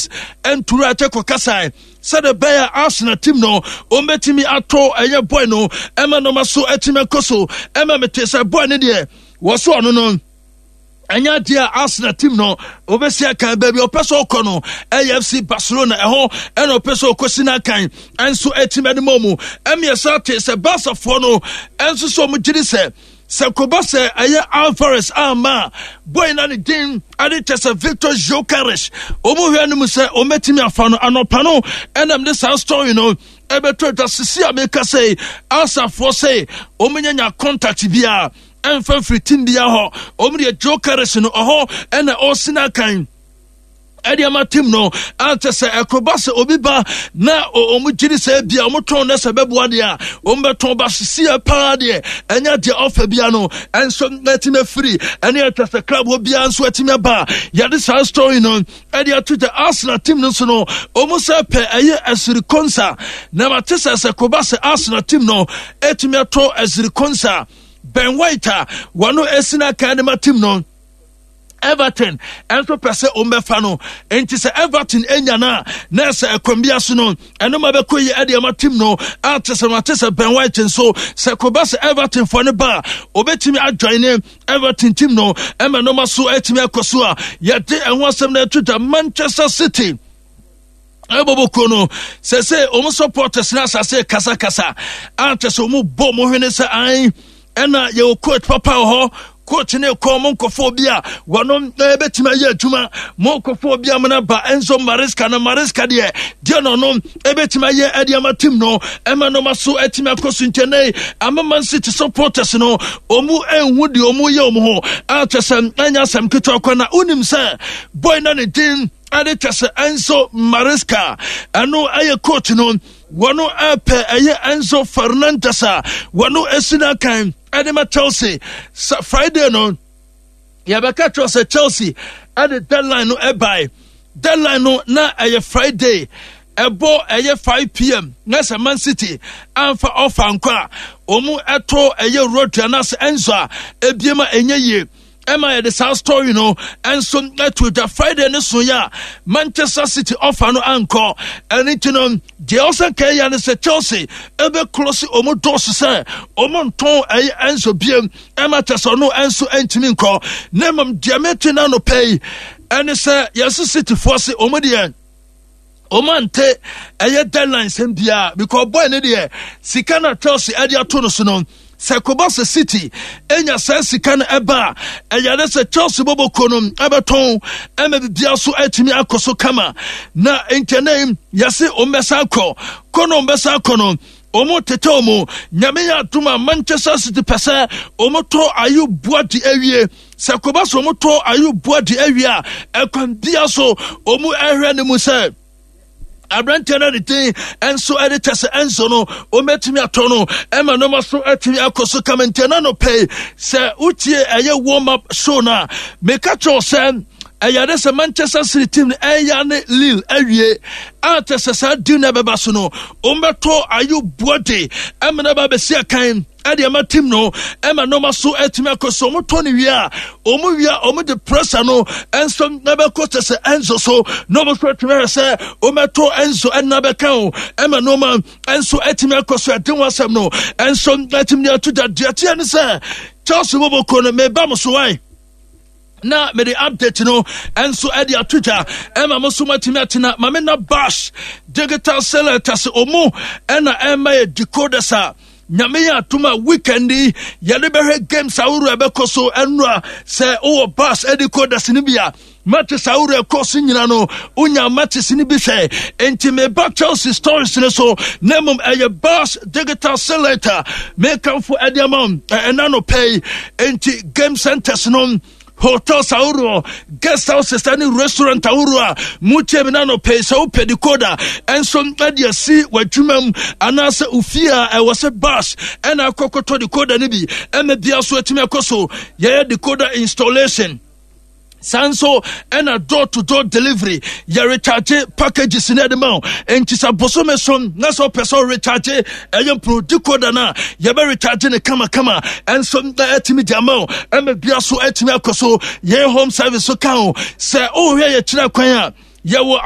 Alvarez ɛntura ɛkyɛ kɔ kasae sɛdeɛ ɛbɛyɛ a Arsenal team no wɔbɛtumi atɔ ɛyɛ boy no ɛma nɔma so atumi akɔ so. Ɛma mete sɛ boy no deɛ wɔ so ɔno no ɛnyɛ adeɛ a Arsenal team no wɔbɛsi akan. Baabi ɔpɛ sɛ ɔkɔ no ɛyɛ FC Barcelona, ɛhɔ ɛna ɔpɛ sɛ ɔkɔsi no akan ɛnso ɛtumi ɛde ma mu. Ɛmiɛnsa te sɛ Barcafoɔ no ɛnso sɛ ɔmo gyiri sɛ koba sɛ ɛyɛ Alvarez ama a, boy na ne din ade kyɛ sɛ Victor Gyokeres, ɔmo hwɛ no mu sɛ ɔmɛtumi afa no. Anɔpa no ɛnam de saa story no ɛbɛtɔ dwa. Sisi a meka sɛ asafoɔ sɛ ɔmo nya contact biara ɛmfa mfiri team biara hɔ, ɔmo deɛ Gyokeres no ɔhɔ ɛna ɔsi no akan ɛde ama team no. Ankyɛ sɛ ɛkoba sɛ obi ba na ɔmo gyiri sɛ bia ɔmo tɔn na sɛ bɛboa deɛ a, ɔmo bɛtɔn ba. Sisi paa deɛ, ɛnyɛ deɛ ɔfɛ bia no ɛnso ɛtumi afiri ɛne ɛtwa sɛ club hɔ biara nso ɛtumi aba. Yɛde saa story no ɛde ato gya. Arsenal team no nso no, ɔmo sɛ pɛ ɛyɛ Ezri Konsa na mate sɛ koba sɛ Arsenal team no ɛtumi atɔ Ezri Konsa, Ben White a wɔno esi n'akan ne ma team no, Everton ɛnso pɛ sɛ ɔmbɛfa no. Nti sɛ Everton anya no a, na sɛ ɛkwan bi so no ɛno ma bɛkɔ yi ɛde ama team no. Ate sɛ mate sɛ Ben White nso sɛ koba sɛ Everton fɔ ne ba a, obɛtumi ajoin ne Everton team no ɛma nɔma so atumi akɔ so. A yɛde ɛho asɛm no ɛto dwa, Manchester City ɛbɔbɔkuo no sɛ ɔmo supporters no asase kasakasa a kyɛ sɛ ɔmo bɔ ɔmo hwene sɛ an ɛna yɛwɔ coach papa wɔ hɔ, coach ne kɔ mo nkɔfoɔ bi a wɔno ɛbɛtumi ayɛ adwuma, mo nkɔfoɔ bi a mo ba Enzo Maresca na Maresca deɛ no ɔno ɛbɛtumi ayɛ ɛde ama team no ɛma nɔma so ɛtumi akɔ so. Nkyɛnɛ ama Man City supporters no ɔmu ɛnhu deɛ ɔmu yɛ ɔmo ho a kyɛ sɛ ɛnyɛ asɛm ketewa kɔ. Na wonim sɛ boy na ne din ɛde kyɛ sɛ Enzo Maresca, ɛno ɛyɛ coach no, wɔno ɛpɛ ɛyɛ Enzo Fernandez a wɔno esi n'akan ɛde ma Chelsea. Sɛ Friday no yɛbɛka kyerɛ sɛ Chelsea ɛde deadline no ɛbae, deadline no na ɛyɛ Friday ɛbɔ ɛyɛ 5 p.m. na sɛ Man City amfa ɔfa nkɔ a, wɔn ɛto ɛyɛ Rodri anaasɛ Enzo a ebiem a ɛnyɛ yie. Ɛma yɛde saa story no ɛnso ɛto dwa. Friday ne so yɛ a Manchester City ɔfa no ankɔ. Ɛno nti no deɛ ɔsɛ nka ɛyɛ ne sɛ Chelsea ɛbɛkoro se ɔmo dɔɔso sɛ ɔmo ntɔn ɛyɛ Enzo biem, ɛma kyɛ sɛ ɔno ɛnso ɛntumi nkɔ. Na mmom deɛ mete no anɔpɛ yi ɛne sɛ yɛse Cityfoɔ se ɔmo deɛ ɔmo ante ɛyɛ deadline sɛm biara, because boy ne deɛ sika na Chelsea ɛde ato no so no, sɛ kɔba sɛ City enya saa sika no ɛba a, ɛyɛ ne sɛ Chelsea bɔbɔkuo no ɛbɛtɔn ɛma bibia so atumi akɔ so kama. Na nkyɛnɛ yɛse ɔmo bɛsa akɔ kɔ no, ɔmo bɛsa akɔ no, ɔmo tete ɔmo. Nyame yɛ adom a, Manchester City pɛ sɛ ɔmo tɔ Ayyoub Bouaddi awie. Sɛ kɔba sɛ ɔmo tɔ Ayyoub Bouaddi awie a, ɛkwan bia so ɔmo ɛhwɛ ne mu sɛ aberanteɛ no de din nso ɛde kyɛ sɛ Enzo no wɔmɛtumi atɔ no ɛma nneɛma so atumi akɔ so kama. Nti ɛna no pɛi sɛ wotie ɛyɛ warm up show no a, meka kyerɛw sɛ ɛyɛ de sɛ Manchester City team no ɛyɛ ne Lille awie a, kyɛ sɛ saa deal no ɛbɛba so no, wɔmbɛtɔ Ayyoub Bouaddi ɛma no ba bɛsi akan ɛde ɛma team no ɛma nneɛma so ɛtumi akɔ so. Ɔmo tɔ ne wie a, ɔmo wie a, ɔmo de pressure no ɛnso ɛbɛkɔ kyɛ sɛ Enzo so na ɔmo so ɛtumi ayɛ sɛ ɔmo ɛtɔ Enzo ɛna bɛka o ɛma nneɛma ɛnso ɛtumi akɔ so. Ɛde ho asɛm no ɛnso ɛtumi de ato da. Deɛ teɛ ne sɛ Chelsea bɔbɔ no meba mo so wae na mede update no ɛnso ɛde ato dwa ɛma mo so matumi atena. Mame na Bash Digital Select ase, ɔmo ɛna ɛma yɛ decoders a Nyame yɛ atom a weekend yi yɛde bɛhwɛ games ahorow a ɛbɛkɔ so. Ɛnora sɛ wowɔ bus decoders no bi a, matches ahorow ɛkɔ so nyina no wonya matches no bi hwɛ. Enti meba Chelsea stories no so, na mmom ɛyɛ Bus Digital Selector mekamfo ɛde ama ɛna no pɛ yi. Enti game centers no, hotels ahoroɔ, guest houses ne restaurant ahoroɔ a motie me na no pɛi, sɛ wopɛ decoder ɛnso ɛde asi w'adwuma mu anaasɛ ofie a, ɛwɔ sɛ bus ɛna akɔkɔtɔ decoder no bi ɛma bia so atumi akɔ so. Yɛyɛ decoder installation, saa nso ɛna door to door delivery. Yɛ recharge packages ne ɛde ma wo. Nti sɛ bosome so na sɛ wopɛ sɛ recharge ɛyɛ pro decoder no a, yɛbɛ recharge ne kamakama ɛnso na ɛtumi de ama wo ɛma bia so ɛtumi akɔ so. Yɛn home service so ka ho. Sɛ wohwɛ yɛkyerɛ kwan a yɛwɔ.